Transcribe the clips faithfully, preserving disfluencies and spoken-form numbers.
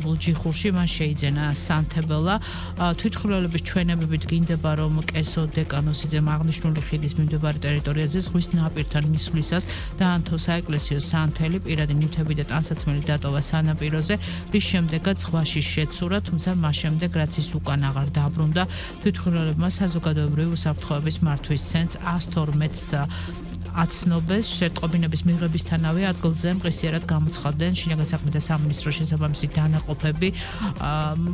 ჯიხურში მან შეიძენა სანთებელა თვითმხილველების ჩვენებებით გინდება რომ კესო დეკანოსიძემ აღნიშნული ხიდის მიმდებარე ტერიტორიაზე ზღვის ნაპირთან მისვლისას დაანთო საეკლესიო სანთელი პირადი ნივთები და ტანსაცმელი დატოვა სანაპიროზე რის შემდეგაც ზღვაში შეცურა თუმცა მას შემდეგ რაც ის უკან აღარ დაბრუნდა თვითმხილველებმა საზოგადოებრივი უსაფრთხოების მართვის ცენტრს ას თორმეტს აცნობეს შეტყობინების მიღებისთანავე ადგილზე მყისიერად გამოცხადდნენ შინაგან საქმეთა სამინისტროს შესაბამისი დანაყოფები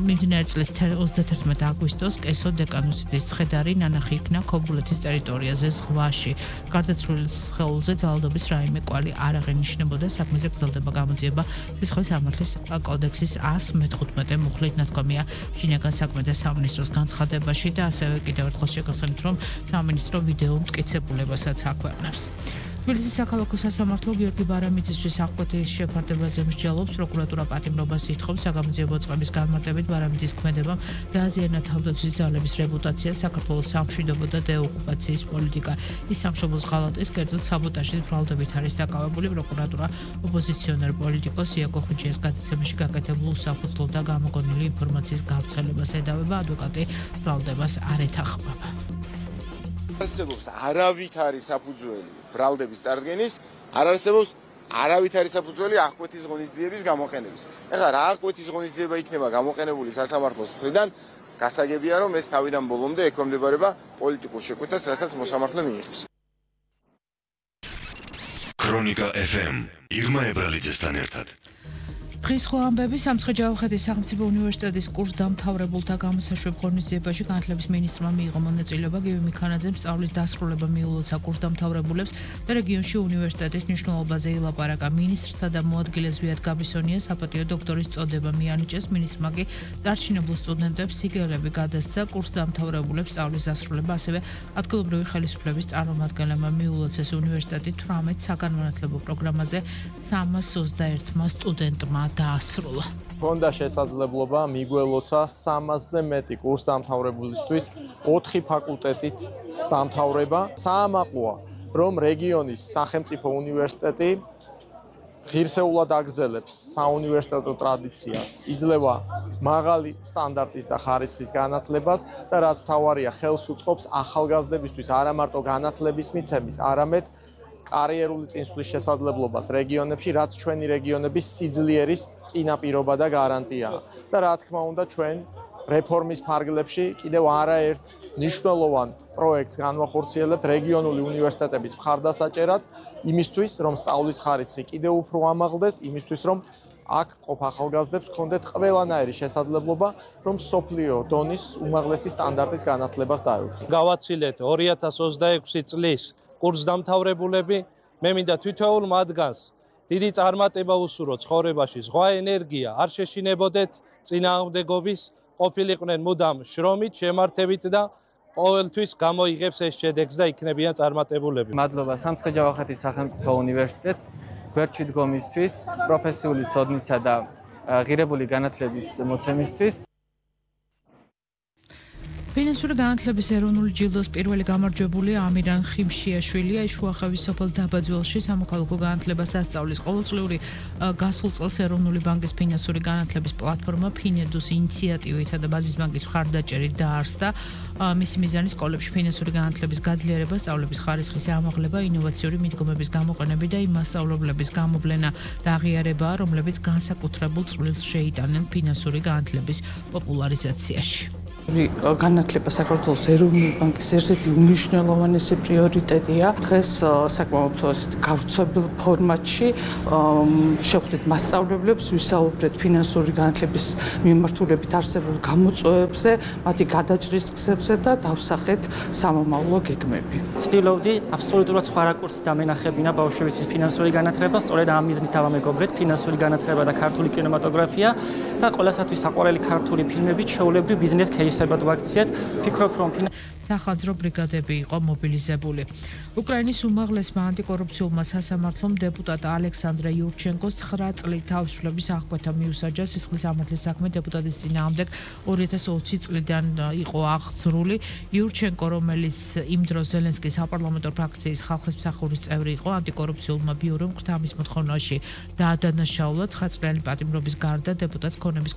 მიმდინარე წლის ოცდათერთმეტ აგვისტოს კესო დეკანოსიძის ცხედარი ნანახი იქნა ქობულეთის ტერიტორიაზე ზღვაში გარდაცვლილ სხეულზე ძალადობის რაიმე კვალი არ აღენიშნებოდა საქმეზე გრძელდება გამოძიება სისხლის სამართლის კოდექსის ას მეთხუთმეტე მუხლით ნათქვამია შინაგან საქმეთა სამინისტროს განცხადებაში და ასევე კიდევ ერთხელ შეგახსენებთ რომ სამინისტრო ვიდეო მტკიცებულებასაც აქვეყნებს თბილისის საქალაქო სასამართლო გიორგი ბარამიძისთვის აღკვეთის შეფარდებაზე მსჯელობს პროკურატურა პატიმრობას ითხოვს საგამოძიებო წყების განმარტებით ბარამიძის ქმედებამ დააზიანა თავდაცვის ძალების რეპუტაცია საქართველოს სამშვიდობო და დეოკუპაციის პოლიტიკა ის სამშობლოს ღალატის კერძოდ საბოტაჟის ბრალდებით არის დაკავებული პროკურატურა ოპოზიციონერ პოლიტიკოს იაკო ხუჩიას გადაცემაში გაკეთებულ საფუძვლად და გამოგონილი ინფორმაციის გავრცელებას ედავება ადვოკატი ბრალდებას არ ეთანხმება არსებობს არავითარი საფუძველი ბრალდების წარდგენის, არ არსებობს არავითარი საფუძველი აღკვეთის ღონისძიების გამოყენების. ეხლა რა აღკვეთის ღონისძიება იქნება გამოყენებული სასამართლოს მხრიდან, გასაგებია რომ ეს თავიდან ბოლომდე ექვემდებარება პოლიტიკურ შეკვეთას, რასაც მოსამართლე მიიღებს. ქრონიკა ეფ ემ ირმა ებრალიძესთან ერთად. დღის ხო ამბები სამცხე-ჯავახეთის სახელმწიფო უნივერსიტეტის კურსდამთავრებულთა გამოსაშვებ ღონისძიებაში განათლების მინისტრმა მიიღო მონაწილეობა გივი მიქანაძემ სწავლის დასრულება მიულოცა კურსდამთავრებულებს და რეგიონში უნივერსიტეტის მნიშვნელობაზე ილაპარაკა მინისტრსა და მოადგილე ზვიად გაბისონია საპატიო დოქტორის წოდება მიანიჭეს მინისტრმა კი წარჩინებულ სტუდენტებს სიგელები გადასცა კურსდამთავრებულებს სწავლის დასრულება ასევე ადგილობრივი ხელისუფლების წარმომადგენლებმა მიულოცეს უნივერსიტეტი თვრამეტ საგანმანათლებლო პროგრამაზე სამას ოცდაერთმა სტუდენტმა დაასრულა. Ჰქონდა შესაძლებლობა მიგველოცა სამასზე მეტი კურსდამთავრებულისთვის ოთხი ფაკულტეტით დამთავრება. საამაყოა, რომ რეგიონის სახელმწიფო უნივერსიტეტი ღირსეულად აგრძელებს საუნივერსიტეტო ტრადიციას, იძლევა მაღალი სტანდარტის და ხარისხის განათლებას და რაც მთავარია, ხელს უწყობს ახალგაზრდებისთვის არა მარტო განათლების მიცემის, არამედ კარიერული წინსვლის შესაძლებლობას რეგიონებში, რაც ჩვენი რეგიონების სიძლიერის წინაპირობა და გარანტიაა. და რა თქმა უნდა, ჩვენ რეფორმის ფარგლებში კიდევ არაერთ მნიშვნელოვან პროექტს განვახორციელებთ რეგიონული უნივერსიტეტების მხარდასაჭერად, იმისთვის, რომ სწავლის ხარისხი კიდევ უფრო ამაღლდეს, იმისთვის, რომ აქ ყოფ ახალგაზრდებს ჰქონდეთ ყველანაირი შესაძლებლობა, რომ სოფლიო დონის უმაღლესი სტანდარტის განათლებას დაეუფლათ. გავაცილეთ ორი ათას ოცდაექვსი წლის კურსდამთავრებულები, მე მინდა თითოეულ მათგანს დიდი წარმატება უსურვო ცხოვრებაში, ზღვა ენერგია, არ შეშინებოდეთ წინააღმდეგობის, ყოფილიყვნენ მუდამ შრომით, შემართებით და ყოველთვის გამოიღებს ეს შედეგს და იქნებიან წარმატებულები. მადლობა სამცხე-ჯავახეთის სახელმწიფო უნივერსიტეტს გვერდში დგომისთვის, პროფესიული ცოდნისა და ღირებული განათლების მოცემისთვის. ფინანსური განათლების ეროვნული ჯილდოს პირველი გამარჯვებულია ამირან ხიმშიაშვილია. ის შუახევის სოფელ დაბაძველში სამოქალაქო განათლებას ასწავლის. ყოველწლიური გასულ წელს ეროვნული ბანკის ფინანსური განათლების პლატფორმა ფინედუს ინიციატივითა და ბაზის ბანკის მხარდაჭერით დაარსდა. მისი მიზანი სკოლებში ფინანსური განათლების გაძლიერება, სწავლების ხარისხის ამაღლება, ინოვაციური მიდგომების გამოყენება და იმ მასწავლებლების გამოვლენა და აღიარებაა, რომლებიც განსაკუთრებულ წვლილს შეიტანენ ფინანსური განათლების პოპულარიზაციაში. განათლება საქართველოს ეროვნული ბანკის ერთ-ერთი უმნიშვნელოვანესი პრიორიტეტია. დღეს საკმაოდ გავრცელებულ ფორმატში შევხვდით მასწავლებლებს, ვისაუბრეთ ფინანსური განათლების მიმართულებით არსებულ გამოწვევებზე, მათი გადაჭრის გზებზე და დავსახეთ სამომავლო გეგმები. ცდილობდი აბსოლუტურად სხვა რაკურსით დამენახებინა ბავშვებისთვის ფინანსური განათლება, სწორედ ამ მიზნით დავამეგობრეთ ფინანსური განათლება და ქართული კინემატოგრაფია და ყველასათვის საყვარელი ქართული ფილმები ჩვეულებრივ ბიზნეს кейსებად ვაქციეთ. ფიქრობ რომ სახანძრო ბრიგადები იყო მობილიზებული. უკრაინის უმაღლესმა ანტიკორუფციულმა სასამართლომ დეპუტატ ალექსანდრე იურჩენკოს ცხრა წლით თავისუფლების აღკვეთა მიუსაჯა. სისხლის სამართლის საქმე დეპუტატის წინააღმდეგ ორი ათას ოცი წლიდან იყო აღძრული. იურჩენკო, რომელიც იმ დროს ზელენსკის საპარლამენტო ფრაქციის ხალხის მსახურის წევრი იყო, ანტიკორუფციულმა ბიურომ ხრთამის მოთხოვნაში დაადანაშაულა ცხრა წლიანი პატიმრობის გარდა დეპუტატს ქონების